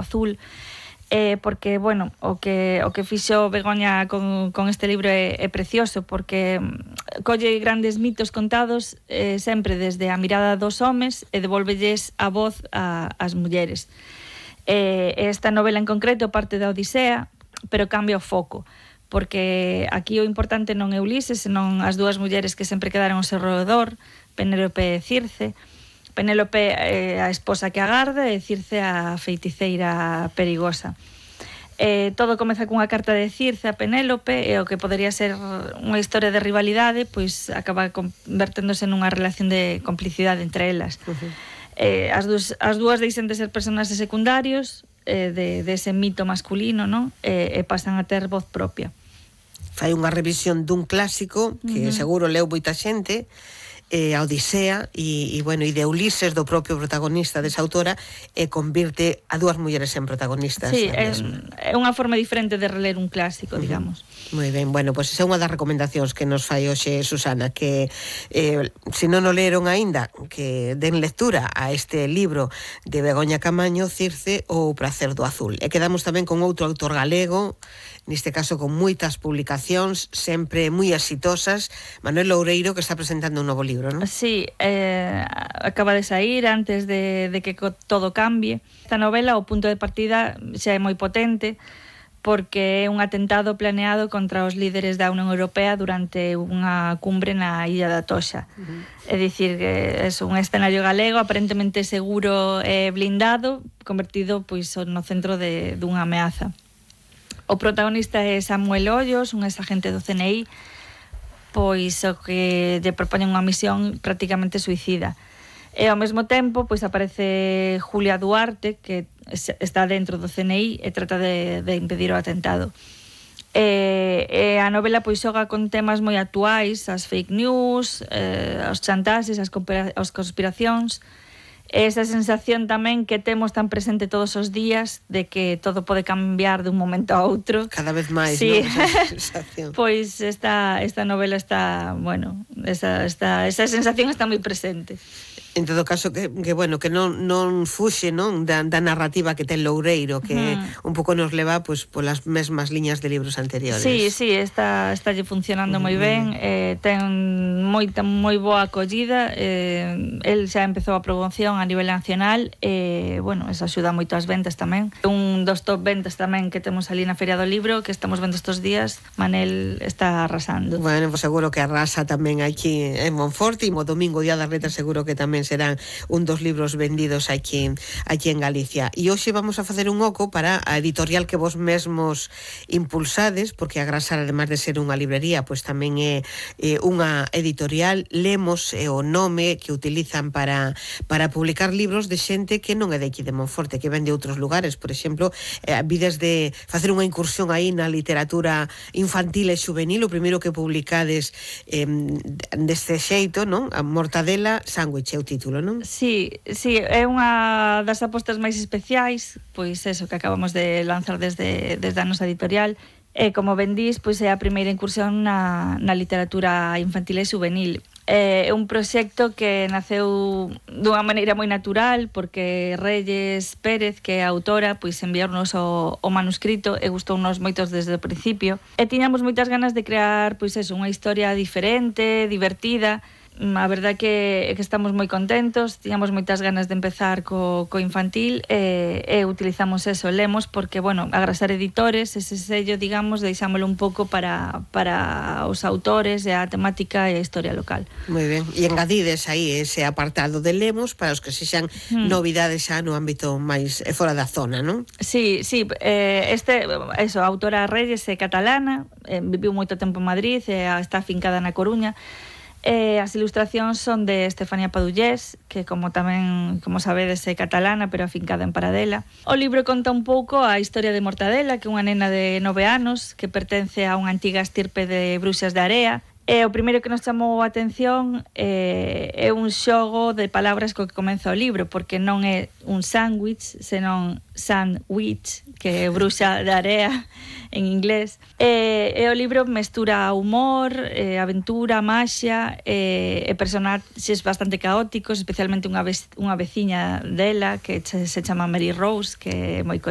azul, porque, bueno, o que fixo Begoña con este libro é precioso, porque colle grandes mitos contados sempre desde a mirada dos homes e devolvelles a voz ás mulleres. Esta novela en concreto parte da Odisea, pero cambia o foco, porque aquí o importante non é Ulises, senón as dúas mulleres que sempre quedaron ao seu redor, Penélope e Circe. Penélope a esposa que agarda e Circe a feiticeira perigosa. Todo comeza cunha carta de Circe a Penélope e o que podería ser unha historia de rivalidade pois acaba converténdose nunha relación de complicidade entre elas. As dúas deixan de ser personaxes secundarios de ese mito masculino, non? E pasan a ter voz propia. Fai unha revisión dun clásico que seguro leu moita xente, a Odisea e de Ulises, do propio protagonista desa autora, e convirte a dúas mulleres en protagonistas. Sí, é unha forma diferente de reler un clásico, digamos. Moi ben, bueno, pois esa é unha das recomendacións que nos fai hoxe Susana, que se non o leron aínda, que den lectura a este libro de Begoña Camaño, Circe ou O pracer do azul. E quedamos tamén con outro autor galego, neste caso con moitas publicacións, sempre moi exitosas, Manuel Loureiro, que está presentando un novo libro, non? Sí, acaba de sair antes de que todo cambie. Esta novela, o punto de partida, xa é moi potente, porque é un atentado planeado contra os líderes da Unión Europea durante unha cumbre na Illa da Toxa. É dicir, que é un escenario galego aparentemente seguro e blindado, convertido pois no centro dunha ameaza. O protagonista é Samuel Ollos, un exagente do CNI, pois o que lle propoñen unha misión prácticamente suicida. E ao mesmo tempo pois aparece Julia Duarte, que está dentro do CNI e trata de impedir o atentado. E a novela pois xoga con temas moi actuais, as fake news, os chantaxes, as conspiracións, esa sensación tamén que temos tan presente todos os días de que todo pode cambiar dun momento a outro. Cada vez máis, sí. Non? Esa sensación. Pois esta novela está, bueno, esa sensación está moi presente. En todo caso, que non fuxe, non, da narrativa que ten Loureiro, que un pouco nos leva pois polas mesmas liñas de libros anteriores. Sí, está funcionando moi ben, ten moi boa acollida, el xa empezou a promoción a nivel nacional, eso axuda moito ás ventas tamén. Un dos top ventas tamén que temos ali na Feria do Libro, que estamos vendo estes días, Manel está arrasando. Bueno, pues seguro que arrasa tamén aquí en Monforte, e o domingo, Día das Letras, seguro que tamén serán un dos libros vendidos aquí en Galicia. E hoxe vamos a facer un oco para a editorial que vos mesmos impulsades, porque a Grasar, además de ser unha librería, pois tamén é unha editorial. Lemos o nome que utilizan para publicar libros de xente que non é de aquí de Monforte, que ven de outros lugares. Por exemplo, vides de facer unha incursión aí na literatura infantil e juvenil. O primeiro que publicades deste xeito, non? A Mortadela Sándwich é o título, non? Sí, é unha das apostas máis especiais, pois eso que acabamos de lanzar desde a nosa editorial. E como ben dís, pois é a primeira incursión na literatura infantil e juvenil. É un proxecto que naceu dunha maneira moi natural, porque Reyes Pérez, que é a autora, pois enviarnos o manuscrito e gustounos moitos desde o principio. E tiñamos moitas ganas de crear, pois eso, unha historia diferente, divertida. A verdade que estamos moi contentos, tiñamos moitas ganas de empezar co infantil e utilizamos eso, Lemos, porque, bueno, Agrasar Editores, ese sello, digamos, deixámoslo un pouco para os autores e a temática e a historia local. Moi ben, e engadides aí ese apartado de Lemos para os que sexan novidades xa no ámbito máis fora da zona, non? Sí, a autora Reyes é catalana, viviu moito tempo en Madrid, está afincada na Coruña. As ilustracións son de Estefanía Padullés, que como sabedes é catalana, pero afincada en Paradela. O libro conta un pouco a historia de Mortadela, que é unha nena de 9 anos que pertence a unha antiga estirpe de bruxas de Area. E o primeiro que nos chamou a atención é un xogo de palabras co que comeza o libro, porque non é un sándwich, senón sandwich, que é bruxa de Area en inglés. E o libro mestura humor, aventura, maxia e personaxes bastante caóticos, especialmente unha veciña dela que se chama Mary Rose, que é moi